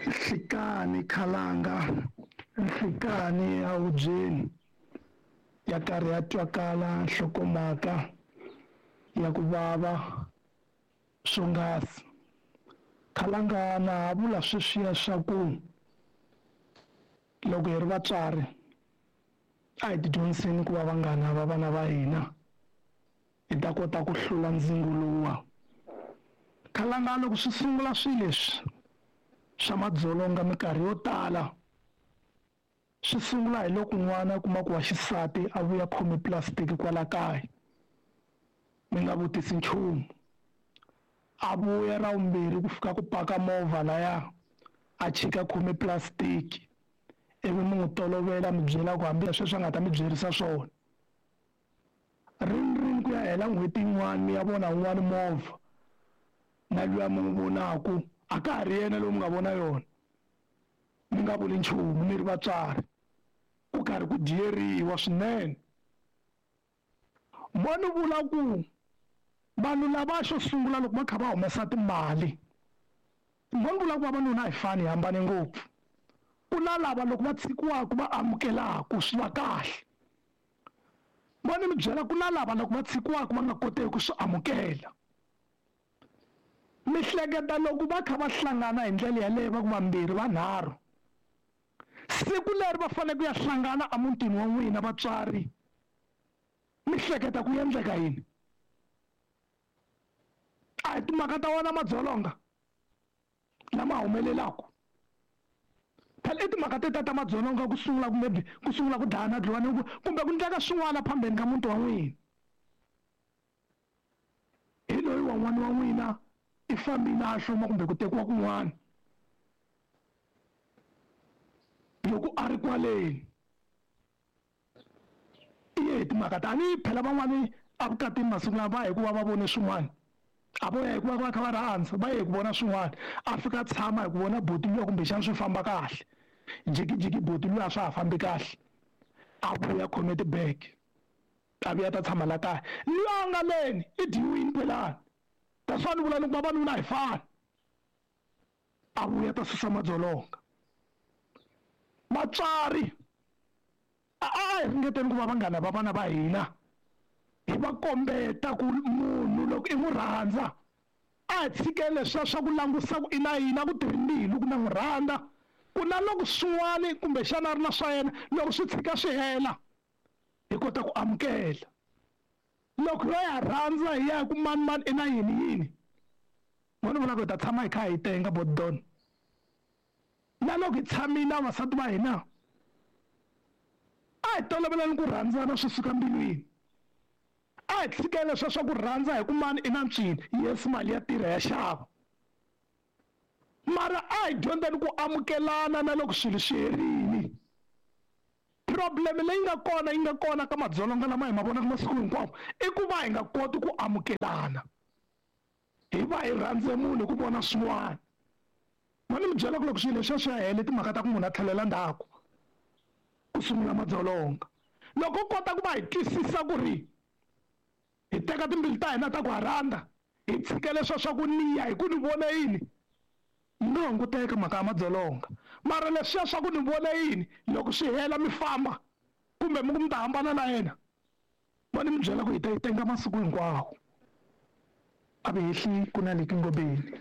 Nhlikani khalanga nhlikani ehubyeni ya karhi ya twakala nhlokomhaka ya ku vava swonghasi. Khalanga na ha vula sweswiya swa ku loko hi ri vatswari a hi tidyondziseni ku va vanghana va vana va hina hi ta kota ku hlula ndzingo lowuwa. Khalanga loko swi sungula swilo leswi swa madzolonga minkarhi yo tala swi sungula hi loko n'wana a kuma ku wa xisati a vuya khome plastic kwala kaya mi nga vutisi nchumu a vuya ra vumbirhi ku fika ku paka movha laya a chika khome plastic ivi mi n'wi tolovela mi byela ku hambi sweswi a nga ta mi byerisa swona rini rini ku ya hela n'hweti yin'wana mi ya vona wun'wani movha na luya mi n'wi vonaku a ka ha ri yena loyi mi nga vona yona mi nga vuli nchumu mi ri vatswari ku karhi ku dyeriwa swinene mo ni vula ku vanhu lava xo sungula loko va kha va humesa timali mo ni vula ku vavanuna a hi fani hi hambane ngopfu ku na lava loko va tshikiwaka va amukelaka swi va kahle mo ni mi byela ku na lava loko va tshikiwaka va nga koteki ku swi amukela mi hleketa loko va kha va hlangana hi ndlela yaleyo va ku vambirhi vanharhu siku leri va fanele ku ya hlangana emutini wa n'wina vatswari mi hleketa ku endleka yini a hi timhaka ta wona madzolonga lama humelelaka phela i timhaka te ta ta madzolonga ku sungula maybe ku sungula ku dlayana dliwana kumbe ku endleka swin'wana phambeni ka muti wa n'wina hi loyi wan'wana wa n'wina i fambile a hloma kumbe ku tekiwa kun'wana loko a ri kwaleni i ye hi timhaka tani phela van'wani evukatini masiku lama va hikuva va vone swin'wana a vo ya hikuva va kha va rhandza va ye hi ku vona swin'wana a fika a tshama hi ku vona boti luya kumbexana swi famba kahle jikijiki boti luya a swa ha fambi kahle a vuya khome tibege a vuya ta tshama la kaya luya a nga leni i dyiwini phelani that's why ni vula ni ku vavanuna a hi fani a vuya ta susa madzolonga vatswari a a hi ringeteni ku va vanghana va vana va hina hi va kombeta ku munhu loko i n'wi rhandza a hi tshikeni leswiya swa ku langusa ku i na yini a ku tirhi mbilu ku na n'wi rhandza ku na loko swin'wani kumbexana a ri na swa yena loko swi tshika swi hela hi kota ku amukela loko yo ya rhandza hi ya ku mani mani i na yini yini mo ni vula ku hi ta tshama hi kha hi tenga bodon na loko hi tshamile na vavasati va hina a hi tolovelani ku rhandzana swi suka mbilwini a hi tshikele leswiya swa ku rhandza hi ku mani i na ncini yes mali ya tirha ya xava mara a hi dyondzeni ku amukelana na loko swilo swi herile problem leyi nga kona yi nga kona ka madzolonga lama hi ma vonaka masiku hinkwawo i ku va hi nga koti ku amukelana hi va hi rhandze munhu hi ku vona swin'wana ma ni mi byela ku loko swilo leswiya swi ya hele timhaka ta ku munhu a tlhelela ndzhaku ku sungula madzolonga loko u kota ku va hi twisisa ku ri hi teka timbilu ta hina ta ku ha rhandza hi tshika leswiya swa ku niya hi ku ni vone yini yi nga hunguteka mhaka ya madzolonga mara leswiya swa ku ni vone yini loko swi hela mi famba kumbe mi ku mi ta hambana na yena va ni mi byela ku hi ta yi tenga masiku hinkwawo a vi hehli ku na le kingobeni.